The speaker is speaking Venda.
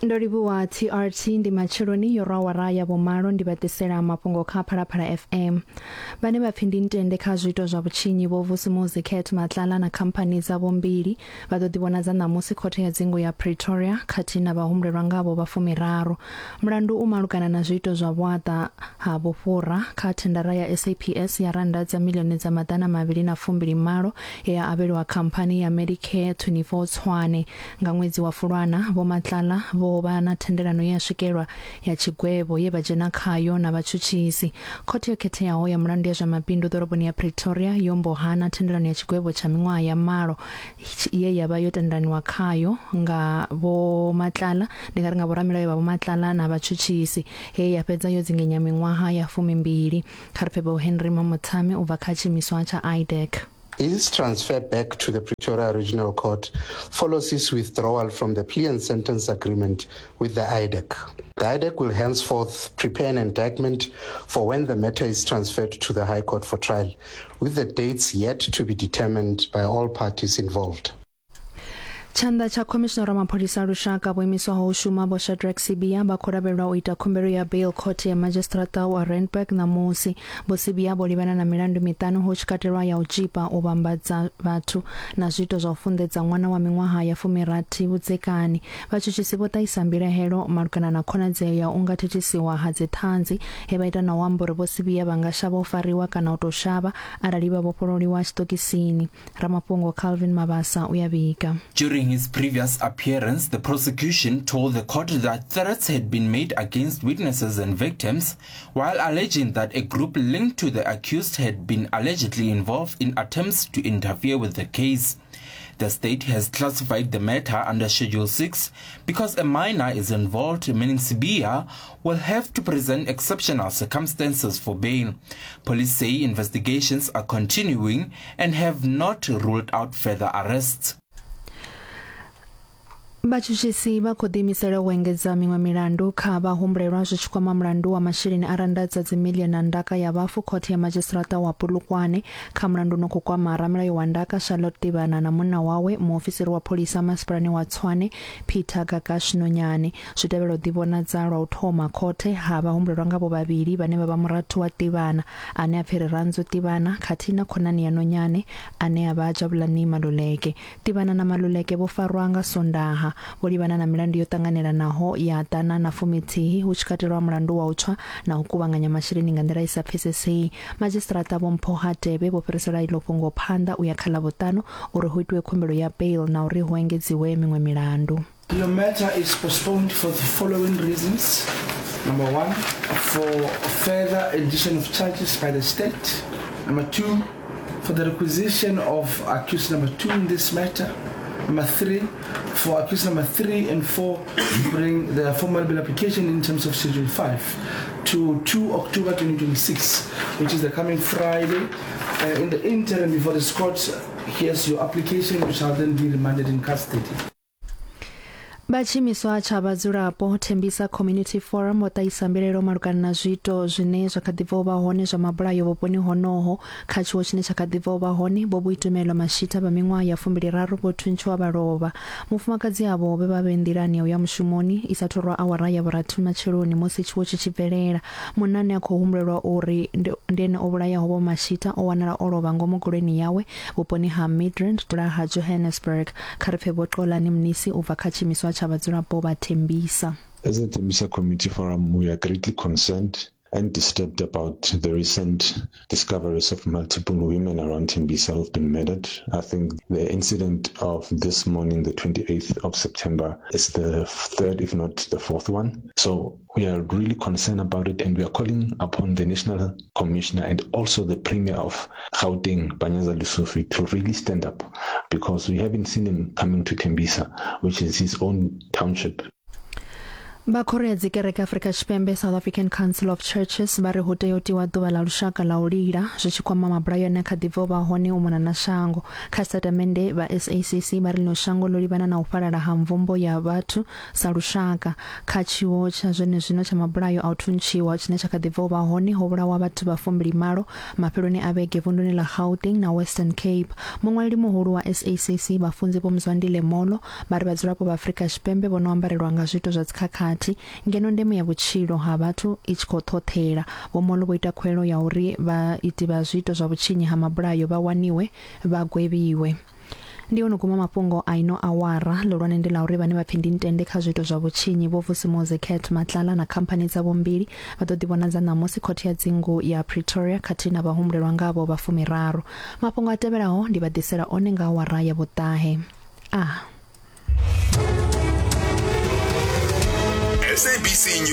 Ndo livhuwa TRT ndi matsheloni yo rwa awara ya vhumalo ndi vha ḓisela mafhungo kha Phalaphala FM. Vhane vha pfi ndi ntende kha zwiito zwa vhutshinyi Vho Vusimuzi Cat Matlala na khamphani dzavho mbili vha ḓo ḓivhonadza ṋamusi khothe ya dzingu ya Pretoria khathihi na vhahumbulelwa ngavho vha fumiraru. Mulandu u malugana na zwiito zwa vhuaḓa ha vhufhura kha thendara ya SAPS ya rannda dza miḽioni dza maḓana mavhili na fumbili malo ye ya avheliwa khamphani ya Medicare 24 Tshwane. Nga ṅwedzi wa Fulwana, Vho Matlala vho vha na thendelano ye ya swikelwa ya tshigwevho ye vha dzhena khayo na vhatshutshisi. Khothe yo Khetheaho ya Mulandu ya zwa Mabindu ḓoroboni ya Pretoria yo mbo hana thendelano ya tshigwevho tsha miṅwaha ya malo ye ya vha yo tendelaniwa khayo nga Vho Matlala, ndi nga ri nga vhoramilayo vha Vho Matlala na vhatshutshisi, he ya fhedza yo dzingenya miṅwaha ya fumimbili. Kha ri pfe Vho Henry Mamothame u bva kha tshiimiswa tsha IDAC. His transfer back to the Pretoria Regional Court follows his withdrawal from the plea and sentence agreement with the IDAC. The IDAC will henceforth prepare an indictment for when the matter is transferred to the High Court for trial, with the dates yet to be determined by all parties involved. Tshanḓa tsha Khomishinara wa Mapholisa a Lushaka vho imiswaho u shuma Vho Shadrack Sibiya vha khou lavhelelwa u ita khumbelo ya bail khothe ya madzhisiṱiraṱa wa Randburg ṋamusi. Vho Sibiya vho livhana na milandu miṱanu hu tshi katelwa ya u tzhipa, u vhambadza vhathu na zwiito zwa u funḓedza ṅwana wa miṅwaha ya fumirathi vhudzekani. Vhatshutshisi vho ṱahisa mbilahelo malugana na khonadzeo ya u nga thithisiwa ha dziṱhanzi he vha ita na u amba uri Vho Sibiya vha nga shavha u fariwa kana u tou shavha arali vha vhofhololiwa tshiṱokisini. Ramafhungo Calvin Mabasa u ya vhiga. During his previous appearance, the prosecution told the court that threats had been made against witnesses and victims, while alleging that a group linked to the accused had been allegedly involved in attempts to interfere with the case. The state has classified the matter under Schedule 6 because a minor is involved, meaning Sibiya will have to present exceptional circumstances for bail. Police say investigations are continuing and have not ruled out further arrests. Vhatshutshisi vha khou ḓiimisela u engedza miṅwe milandu kha vhahumbulelwa zwi tshi kwama mulandu wa masheleni a rannda dza dzimiḽioni na ndaka ya vhafu khothe ya madzhisiṱiraṱa wa Polokwane kha mulandu no khou kwama ramilayo wa ndaka Charlotte Tivhana na munna wawe muofisiri wa pholisa masipalani wa Tshwane Peter Gagash Nonyane. Zwi tevhela u ḓivhonadza lwa u thoma khothe ha vhahumbulelwa ngavho vhavhili vhane vha vha murathu wa Tivhana ane a pfi Rirhandzu Tivhana khathihi na khonani ya Nonyane ane a vha Jabulani Maluleke. Tivhana na Maluleke vho farwa nga Sondaha vho livhana na milandu yo ṱanganelanaho ya ḓana na fumithihi hu tshi katelwa mulandu wa u tswa na u kuvhanganya masheleni nga nḓila i sa pfesesei. Madzhisiṱiraṱa Vho Mpho Hadebe vho fhirisela iḽo fhungo phanḓa u ya kha Ḽavhuṱanu uri hu itiwe khumbelo ya bail na uri hu engedziwe miṅwe milandu. Your matter is postponed for the following reasons. Number one, for further addition of charges by the state. Number two, for the requisition of accused number two in this matter. Number three, for accused number three and four to bring their formal bail application in terms of Schedule 5 to 2 October 2026, which is the coming Friday. In the interim, before this court hears your application, you shall then be remanded in custody. Vha tshiimiswa tsha vhadzulapo Thembisa Community Forum vho ṱahisa mbilaelo malugana na zwiito zwine zwa kha ḓi bva u vha hone zwa mabulayo vhuponi honoho. Kha tshiwo tshine tsha kha ḓi bva u vha hone, Vho Boitumelo Mashita vha miṅwaha ya fumbili-raru vho thuntshiwa vha lovha. Mufumakadzi avho vhe vha vhe nḓilani ya u ya mushumoni i sa thu rwa awara ya vhurathi matsheloni musi tshiwo tshi tshi bvelela. Munna ane a khou humbulelwa uri ndi ene o vhulayaho Vho Mashita o wanala o lovha ngomu goloini yawe vhuponi ha Midrand ha Johannesburg. Kha ri pfe Vho Xolani Mnisi u bva kha tshiimiswa tsha vhadzulapo vha Tembisa. As a Tembisa Community Forum, we are greatly concerned and disturbed about the recent discoveries of multiple women around Tembisa who've been murdered. I think the incident of this morning, the 28th of September, is the third, if not the fourth one. So we are really concerned about it, and we are calling upon the National Commissioner and also the Premier of Gauteng, Panyaza Lesufi, to really stand up, because we haven't seen him coming to Tembisa, which is his own township. Vha khoro ya dzikereke Afrika Tshipembe South African Council of Churches vha ri hu tea u tiwa ḓuvha ḽa lushaka ḽa u lila zwi tshi kwama mabulayo ane a kha ḓi bva u vha hone u mona na shango. Kha tshitatamennde vha SACC vha ri ḽino shango ḽo livhana na u fhalala ha mvumbo ya vhathu sa lushaka. Kha tshiwo tsha zwenezwino tsha mabulayo a u thuntshiwa tshine tsha kha ḓi bva u vha hone ho vhulawa vhathu vha fumbili malo mafheloni a vhege vunduni ḽa Gauteng na Western Cape. Muṅwaleli muhulu wa SACC Vhafunzi Vho Mzwandile Molo Vha ri vhadzulapo vha Afrika Tshipembe vho no ambarelwa nga zwiito zwa dzikhakhathi ngeno ndeme ya vhutshilo ha vhathu i tshi khou ṱhoṱhela. Vho Molo vho ita khuwelelo ya uri vhaiti vha zwiito zwa vhutshinyi ha mabulayo vha waniwe vha gwevhiwe. Ndi ho no guma mafhungo a ino awara. Ḽihulwane ndi ḽa uri vhane vha pfi ndi ntende kha zwiito zwa vhutshinyi Vho Vusimuzi Cat Matlala na khamphani dzavho mbili vha ḓo ḓivhonadza ṋamusi khothe ya dzingu ya Pretoria khathihi na vhahumbulelwa ngavho vha fumiraru. Mafhungo a tevhelaho ndi vha ḓisela one nga awara ya vhuṱahe. A. SABC News.